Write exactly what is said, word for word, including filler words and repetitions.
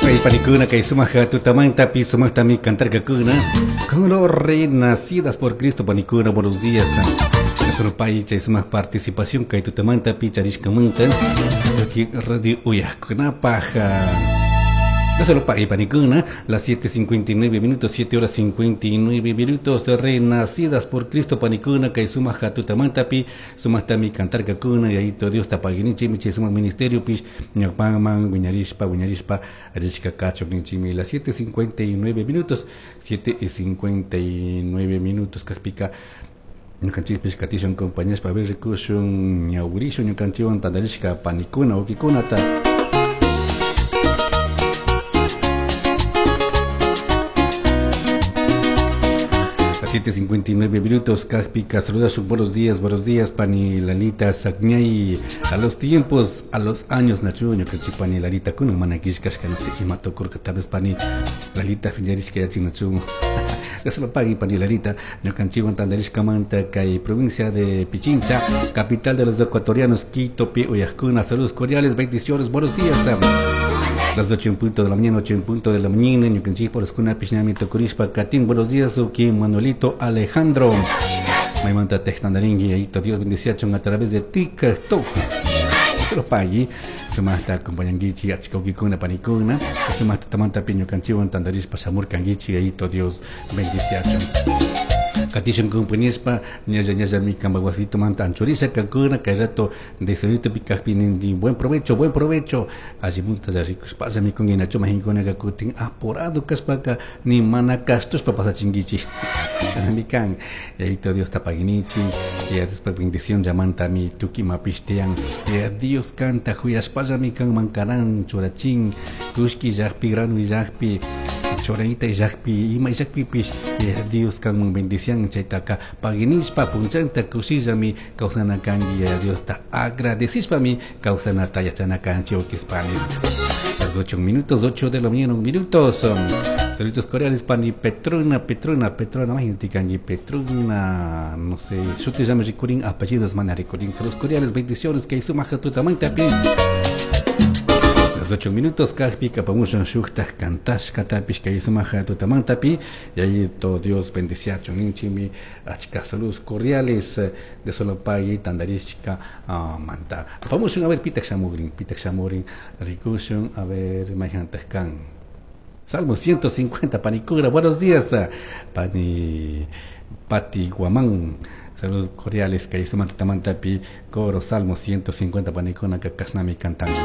Panikuna kay sumaq tutamantapi sumaqtami cantarkakuna con los renacidas por Cristo. Panikuna, buenos días. Surpay chay sumaq participación kay tutamantapi charishkamanta aquí radio uyaqkunapaq. Solo pa panikuna, las siete cincuenta y nueve minutos, siete horas cincuenta y nueve minutos de renacidas por Cristo panikuna kay sumaq tutamantapi sumaqtami cantarkakuna y ahí todo Dios tapaginichi chay sumaq ministerio pish ñawpaman wiñarishpa wiñarishpa rishka kachuk ninchimi. Las siete cincuenta y nueve minutos, siete y cincuenta y nueve minutos kajpika ñukanchikpish katishun compañías pa ver rikushun ñawrishun ñukanchikwan tantarishka panikuna ukikunata. siete cincuenta y nueve minutos, Kajpika, saluda su buenos días, buenos días, Pani Lalita Sagñay, a los tiempos, a los años, Nachuño, que Pani Lalita, kuno manakishkashka, no sé, y mato kurka, tal vez Pani Lalita, Fiñarishka, Yachinachu, ya se lo pague, Pani Lalita, Ñukanchiwan Tandarishka Manta, Kay, provincia de Pichincha, capital de los ecuatorianos, Quito, Pi, Uyajcuna, saludos cordiales, bendiciones, buenos días. Las ocho en punto de la mañana, ocho en punto de la mañana, ñukanchik por escuna pishnami tokurishpa katin. Buenos días, uki Manuelito Alejandro. Maymanta tejtandaringui, ahí Dios bendeciachon a través de TikTok. Se lo pagui, sumasta acompañanguichi, achikaukikuna panikuna, sumasta tamanta piñukanchiwan tandarishpa shamurkanguichi, ahí Dios bendeciachon. Katishun compañespa, ñalla ñalla mi cambaguacito manta anchurisa kakuna, kayato de solito pikajpinindi, buen provecho, buen provecho. Allí munta ya ricos pasa mi con inacho majinkuna kakutin apurado kaspaka ni mana castos papasachinguichi. Mi kan, y ahí todo Dios tapaginichi, y después bendición llamanta mi tuki mapistean, y Dios canta juyaspaya mi kan mancarán churachin, kushki yajpi grano y yajpi. Choranita llaqpi ima llaqpipish Dios kanman bendición chaytaqa paginishpa punchanta kushillami kawsana kanki Diosta agradecishpami kawsanata yachana kanchik ukispanis. Las ocho minutos, ocho de la mañana, un minutos. Saludos cordiales pani Petrona, Petrona, Petrona, imagínate kanki Petrona, no sé, shuti llama rikurin, apellidos mana rikurin. Saludos cordiales, bendiciones que sumaja tutamanta pi. Las ocho minutos, kajpi, kapamushon, shuktaj, kantash, katapish, kayisumaja, tutamantapi, y ahí todo Dios bendeciacho, ninchimi, achka, saludos cordiales de Solopagui, tandarishka, uh, manta. Apamushon, a ver, pitak shamurin, pitak shamurin, rikushon, a ver, majantaskan. Salmo ciento cincuenta, panicura, buenos días, pani, Pati Guamán. Saludos cordiales, kayisuma, tutamantapi, coro, Salmo ciento cincuenta, panicuna, kakasnami cantando.